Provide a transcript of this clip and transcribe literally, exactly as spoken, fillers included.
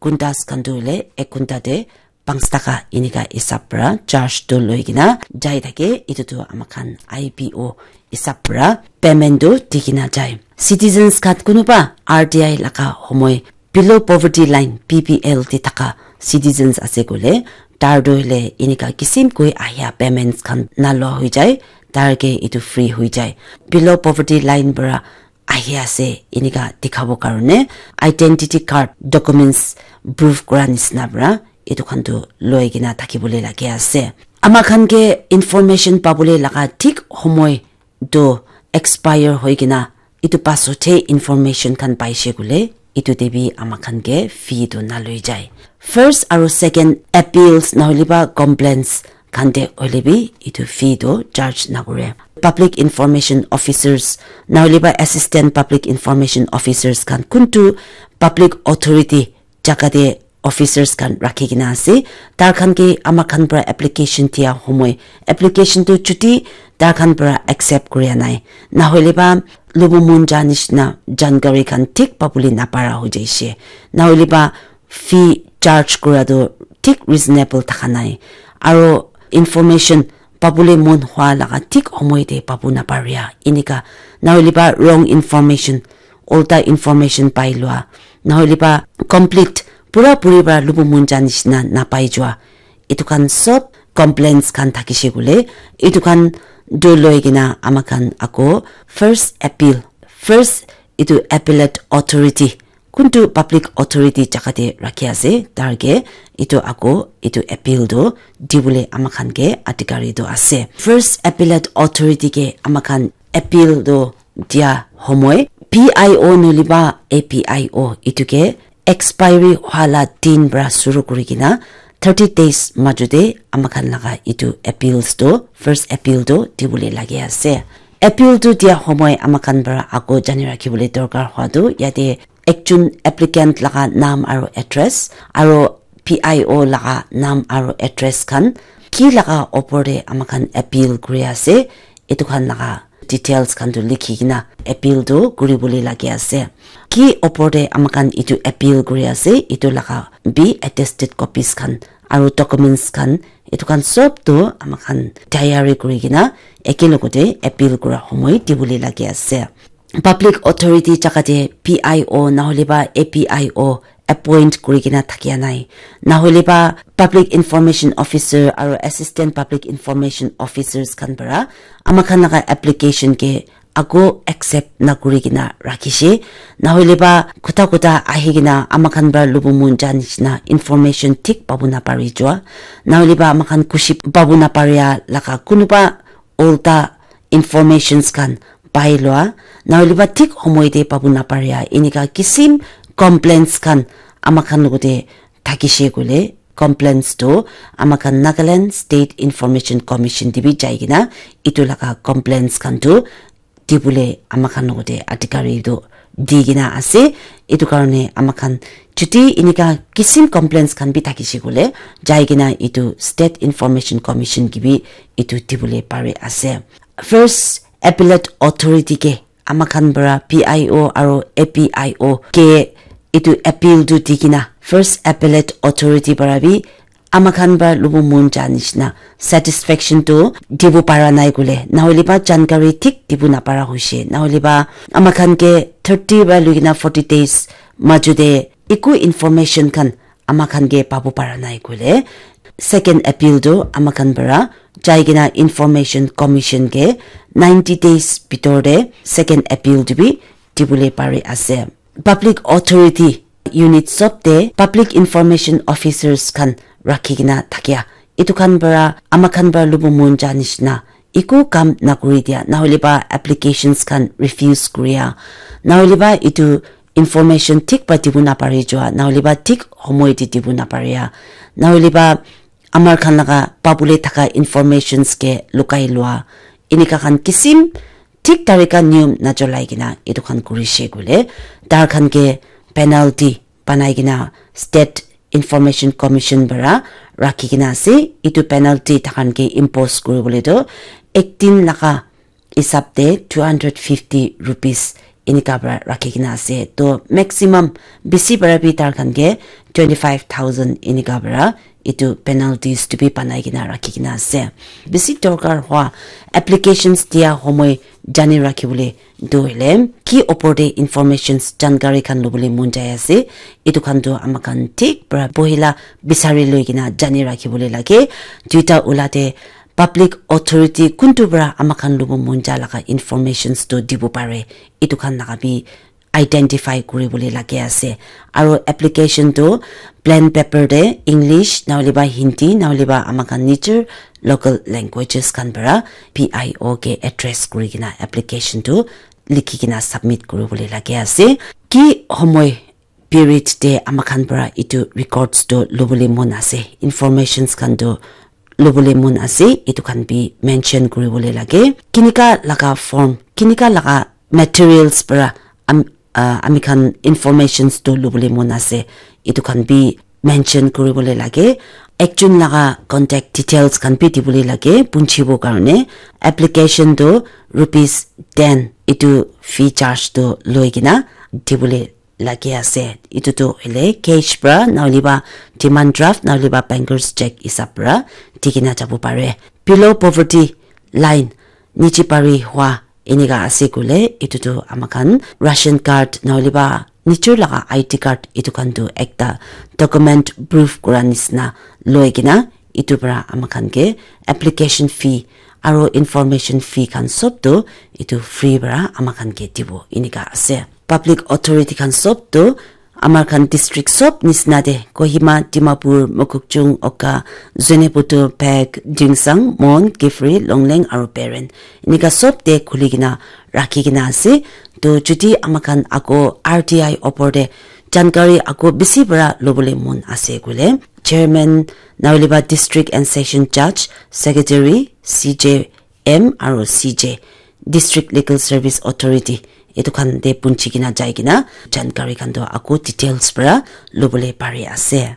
Kuntas khan tu hoile ek kunta te panch taka enika hisab pra charge tu loi kena jai thake. Etu tu ama khan I P O hisab pra payment tu di kena jai. Citizens khan kunuba R T I laga homoi below poverty line, B P L te thaka citizens ase koile, tar tu hoile enika kisim koi ahia payments khan nalua hoi jai, tar ke etu free hoi jai. Below poverty line pra ahi ase enika dikhabo karone identity card, documents proof kura nisna pra etu khan tu loi kena thakibole lage ase. Ama khan ke information pabole laga thik homoi tu expire hoi kena etu pasot he information khan paishe koile, etu te bi ama khan ke fee tu naloi jai. First aro second appeals nahole ba complaints khan te hoile bi etu fee tu charge nakore. Public information officers nahole ba assistant public information officers khan kuntu public authority jaga te officers khan rakhi kena ase. Tar khan ke ama khan pra application dia homoi, application tu chuti tar khan pra accept kuria nai. Nahole ba lubu mon ja nishina jankari khan thik pabole napara hoi jaishe. Nahole ba fee charge kura tu thik reasonable thaka nai. Aro information pabole mon hwa laga thik homoi te pabu naparia. Enika nahole ba wrong information, ulta information pai lua, nahole ba complete pura puri pra lubu mon ja nishina napai jua. Etu khan sob complaints khan thakishe koile, etu khan tu loi kena ama khan ako first appeal, first etu appellate authority, kuntu public authority jaga te rakhi ase, tar ke etu ako etu appeal tu dibole ama khan ke adhikari tu ase. First appellate authority ke ama khan appeal tu dia homoi P I O nahole ba A P I O etu ke expiry hwa la din pra shuru kuri kena thirty days majo te ama khan laga etu appeals tu, first appeal tu dibole lage ase. Appeal tu dia homoi ama khan pra ako jani rakhibole dorkar hwa tu yate ekjon applicant laga naam aro address aro P I O laga naam aro address khan ki laga opor te ama khan appeal kuri ase, etu khan laga details khan tu likhi kena appeal tu kuribole lage ase. Ki opor te ama khan etu appeal kuri ase, etu laga bi attested copies khan aro documents khan, etu khan sob tu ama khan tayari kuri kena eke logote appeal kura homoi dibole lage ase. Public authority jaga te P I O nahole ba A P I O appoint kuri kena thakia nai, nahole ba public information officer aro assistant public information officers khan para ama khan laga application ke ako accept na kuri kena rakhishe, nahole ba khuta khuta ahi kena ama khan para lubu mon ja nishina information thik pabu na pari jua, nahole ba ama khan khushi pabu na paria laga kunuba ulta informations khan pai lua, nahole ba thik homoi te pabu na paria, enika kisim complaints khan ama khan logote thakishe koile, complaints tu ama khan Nagaland State Information Commission te bi jai kena etu laga complaints khan tu dibole ama khan logote adhikari tu di kena ase. Etu karone ama khan chuti enika kisim complaints khan bi thakishe koile jai kena etu State Information Commission ke bi etu dibole pari ase. First appellate authority ke ama khan para P I O aro A P I O ke etu appeal tu di kena first appellate authority para bi ama khan para lubu mon ja nishina satisfaction tu dibo para nai koile, nahole ba jankari thik dibo na para hoishe, nahole ba ama khan ke thirty para loi kena forty days majo te eku information khan ama khan ke pabu para nai koile, second appeal tu ama khan para jai kena Information Commission ke ninety days bitor te second appeal tu bi dibole pari ase. Public authority unit sob te public information officers khan rakhi kena thakia, etu khan para ama khan para lubu mon ja nishina eku kam na kuri dia, nahole ba applications khan refuse kuria, nahole ba etu information thik para dibo na pari jua, nahole ba thik homoi te dibo na paria, nahole ba amar khan laga pabole thaka informations ke lukai lua, enika khan kisim thik tarika niyom na cholai kena etu khan kurishe koile, tar khan ke penalty banai kena State Information Commission para rakhi kena ase. Etu penalty takhan ke impose kuribole tu ek din laga hisab te two hundred fifty rupees enika para rakhi kena ase. To maximum bisi para bi tar khan ke twenty five thousand enika para etu penalties tu bi banai kena rakhi kena ase. Bisi dorkar hua applications dia homoi jani rakhi bole tu hoile ki opor te informations jankari khan lobole mon jai ase, etu khan tu ama khan thik para pohila bisari loi kena jani rakhi bole lage. Duita ula te public authority kuntu para ama khan lobo mon ja laga informations tu dibo pare, etu khan laga bi identify kuri bole lage ase. Aro application tu plain paper te English na hole ba Hindi na hole ba ama khan nijor local languages khan para P I O ke address kuri kena application tu likhi kena submit kuri bole lage ase. Ki homoi period te ama khan para etu records tu lobole mon ase, informations khan tu lobole mon ase, etu khan bi mention kuri bole lage. Kinika laga form, kinika laga materials para am, uh, ami khan informations tu lobole mon ase, etu khan bi mention kuri bole lage. Ekjon laga contact details khan bi di bole lage, punchibo karne. Application tu rupees ten etu fee charge tu loi kena di bole lage ase. Etu tu hoile cash para na hole ba demand draft na hole ba banker's check hisab para di kena jabo pare. Below poverty line, niche pari hua enika ase koile, etu tu ama khan ration card na hole ba nijor laga I D card etu khan tu ekta document proof kura nisna loi kena etu para ama khan ke application fee aro information fee khan sob tu etu free para ama khan ke dibo enika ase. Public authority khan sob tu amar khan district sob nisna te Kohima, Dimapur, Mokokchung, Oka, Zunheboto, Phek, Tuensang, Mon, Kiphire, Longleng aro Peren enika sob te khuli kena rakhi kena ase. To jodi ama khan ako R T I opor te jankari ako bisi para lobole mon ase koile, chairman na hole ba district and session judge, secretary, C J M aro C J, District Legal Service Authority, etu khan te punchi kena jai kena jankari khan tu ako details para lobole pari ase.